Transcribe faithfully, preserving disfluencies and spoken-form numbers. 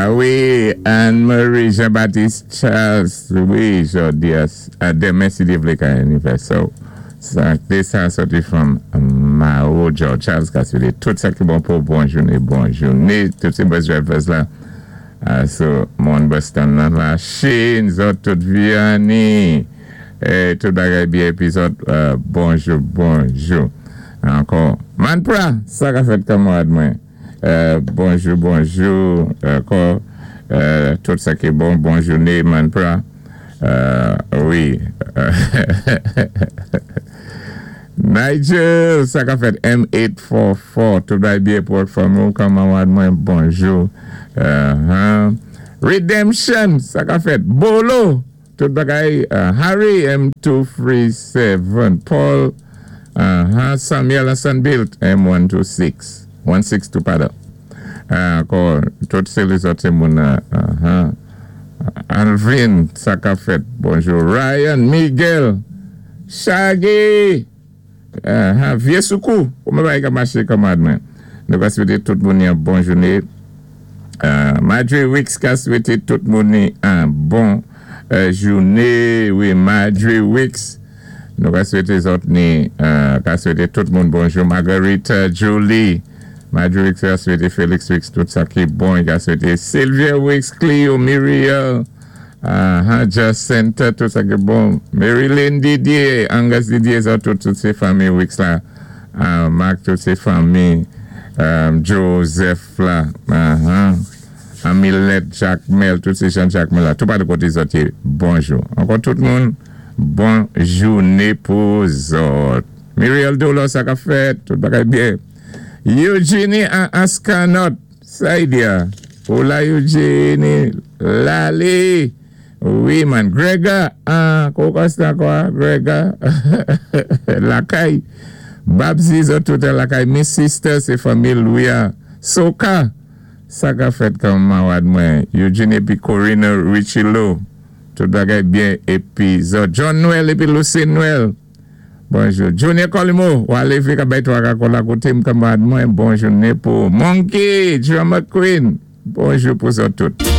Ah wi, Anne-Marie Jean-Baptiste Charles, wi, jòdi a, denmen si Dye vlé ka anivèsè. Sa, sa sòti from Mao George Charles ka swété tout sa ki bon pou bon jouné, bon jouné, tout sé bus drivers la. Uh, so, moun Boston nan la Chine, zòt tout Vianney, eh, tout bagay byen, épi zòt, uh, bonjou, bonjou. Ankò, Manpra, sa ka fèt kanmarad mwen. Euh, bonjou, bonjou, ankò, euh, tout sa ki bon, bon jouné, Manpra. Euh, wi. Nigel, sa ka fèt M eight four four, tout bagay byen pou fanmi, kanmarad mwen, bonjou. Uh-huh. Redemption, sa ka fèt Bolo, tout bagay, uh, Harry M two three seven, Paul, uh-huh, Samuel Sanbilt, M one two six, one six two, padon. Ankò, tout sé lézòt sé moun, uh-huh. Alvin, sa ka fèt, bonjou. Ryan, Miguel, Shaggy, uh-huh. Vyé Soukou, kouman bagay ka maché kanmarad mwen? Nou ka swété tout moun yon bon jouné. Uh, Madre Wicks ka swété tout moun yon bon uh, jouné. Wi, Madre Wicks. Nou ka swété zòt ni, uh, ka swété tout moun bonjou. Margarita Julie. Madre Wicks ka swété Felix Wicks tout sa ki bon. Ka swété Sylvia Wicks, Cleo, Muriel, uh, Jacinta, tout sa ki bon. Marilyn Didier, Angus Didier, zòt tout, tout sé fanmi Wicks la. Uh, Mark, tout sé fanmi um, Joseph la. Uh-huh. Amilet, Jacques Mel, tout sé Jean Jacques Mel la. Tout pa de koté zòt yé, bonjou. Ankò tout moun, bon jouné pou zòt. Muriel Dolo, sa ka fèt, tout bagay byen. Eugenie Ascanot, Saidia. Hola Eugenie, Lali. Wi man, Grega, ah, kouman kwa, Grega. Lakay. Babzi zòt tout lakay. Miss Sister, sé fanmi Louis. Soka, sa ka fèt kanmarad mwen. Eugenie épi Corina Richilo. Tout bagay byen épi zòt. John Noël épi Lucy Noël. Bonjou. Junior Colimo, wale fi ka bay twa ka la koté m kanmarad mwen. Bon jouné pou Monkey, Drama Queen. Bonjou pou zòt tout.